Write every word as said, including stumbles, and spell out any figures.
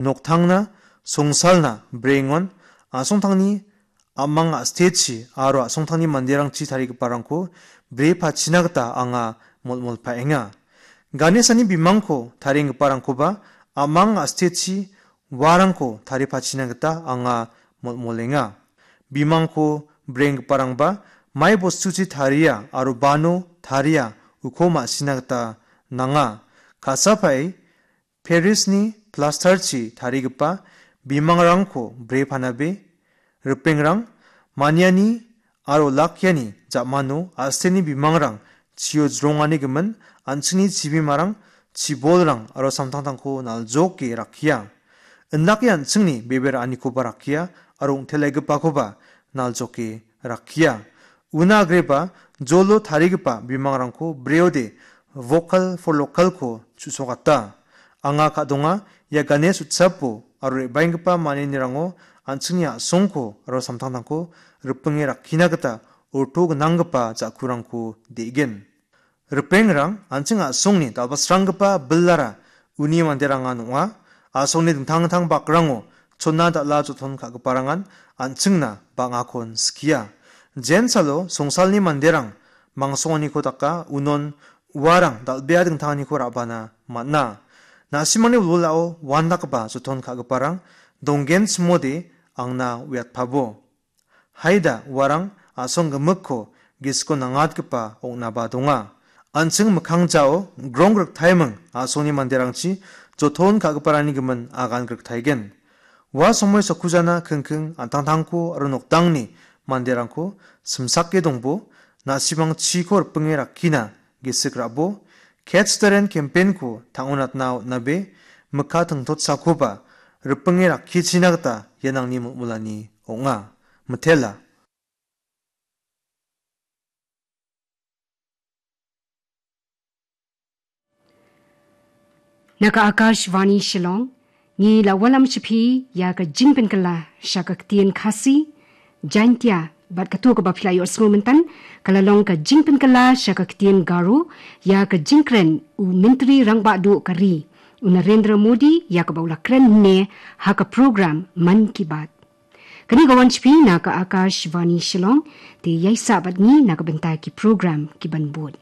Noktangna, songsalna, brengon, a·songtangni a·mang a·stechi aro a·songtangni manderangchi tarigiparangko bre pachina gita anga molmolpaenga. Ganesani bimangko tarienggiparangkoba a·mang a·stechi uarangko taripachina gita anga molmolenga. Bimangko brenggiparangba mai bostuchi taria aro bano taria uko ma·sina gita nanga. Ka·sapae Parisni plastarchi tarigipa bimangrangko bre panabe, ripengrang, maniani aro lakiani ja·mano a·seni bimangrang chio jronganigimin an·chingni chibimarang, chibolrang aro samtangtangko naljoke rakkia. Indake an·chingni bebe ra·anikoba rakkia aro ong·telegipakoba naljoke rakkia. Una agreba jolo tarigipa bimangrangko breode Vocal for Localko chu·sokata. Anga ka·donga ia Ganesh utsapo aro re·baenggipa manianirango an·chingni a·songko aro samtangtangko ripinge rakkina gita orto gnanggipa ja·kurangko de·gen. Ripengrang an·ching a·songni dal·basranggipa bilara uni manderangan ong·a. A·songni dingtang dingtang bakrango chona dal·a joton ka·giparangan an·chingna bang·akon skia. Jensalo songsalni manderang mangsonganiko daka unon uarang dal·bea dingtanganiko ra·bana man·a. Na·simangni wilwilao uandakgipa joton ka·giparang donggenchimode angna uiatpabo. Haida uarang a·song gimikko gisiko nangatgipa ong·naba donga. An·ching mikkang jao grong griktaiming a·songni manderangchi joton ka·giparangni gimin agan griktaigen. Ua somoi sakujana kingking an·tangtangko aro noktangni manderangko simsake dongbo, na·simang chiko ripinge rakkina gisik ra·bo, Catch the Rain campaign-ko tang·onatna on·abe, mikka tingtotsakoba ripinge rakkichina gita ian angni molmolani ong·a. Mitela. Naka Akashvani Shillong, ngi la walam shiphi ya ka jingpengkala shaka ktien Khasi, Jaintia, bad ka tu ka ba phila yo sngo mentan, ka la long ka jingpengkala shaka ktien Garo, ya ka jingkren u Mintri Rangbah Duh ka ri, u Narendra Modi, ya ka ba u la kren ne ha ka program Mann Ki Baat. Kani ka wan shiphi naka Akashvani Shillong, te ya i sa bad ngi naka bynta ki program ki ban bud.